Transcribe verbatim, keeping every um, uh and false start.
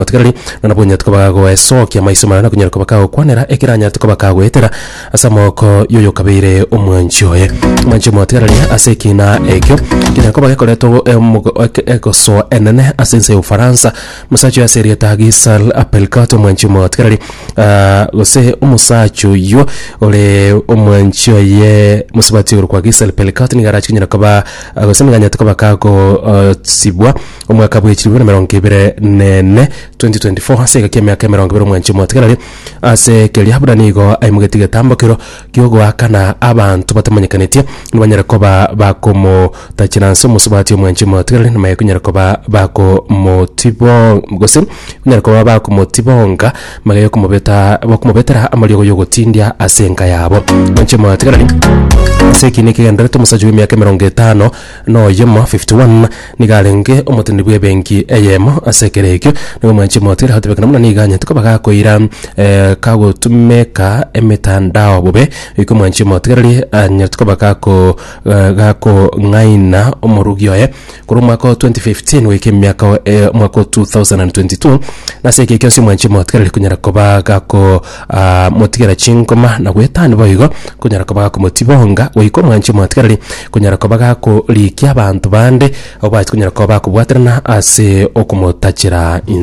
Motigareri na nabwo onyarete koba goesokia maiso marore na konyara koba kagokwanera ekero anyarete koba kagoetera ase amaboko y'oyokabeire omwanchi oye. Omwanchi omotigareri ase ekina ekio kenyara koba gekoretwa omo- eke- egosoa enene ase ense ya Ufaransa, omosacha oyo ase erieta Gisèle Pelicot omwanchi omotigareri ah, gose omosacha oyio ore omwanchi oye mosubati okorokwa Gisèle Pelicot nigo arache konyara koba gose nigo anyarete koba kagosibwa omwaka bwa echiribu na emerongo ebere na ene twenty twenty four ase egeka emiaka emerongo ebere omwanchi omotigareri ase keria buna nigo aimogetie egetambokero kiogoakana abanto batamanyekaneti nibanyare koba bakomotachera nse omosubati omwanchi omotigareri namaye konyara koba bakomotibo gose konyara koba bakomotibonga magega yokomobeta bakomobetera amariogo yogotindia ase enka yabo. Omwanchi omotigareri ase ekina ekegenderete omosacha bwa emiaka emerongo etano na oyomo fifty one nigo arenge omoteneneri bwa ebenki eyemo ase ekero ekio nigo omwanchi omotigareri agotebekana buna nigo anyete koba gakoira kagotumeka emetandao bobe goika omwanchi omotigareri anyarete koba gako gakong'aina omorugi oye korwa omwaka o twenty fifteen goika emiaka omwaka o two thousand and twenty two nase eke ekio omwanchi omotigareri konyara koba gako motigera chingoma na goetania boigo konyara koba gakomotibonga goika omwanchi omotigareri konyara koba gakorikia abanto bande abwo bache konyara koba bakobwaterana ase okomotachera inse.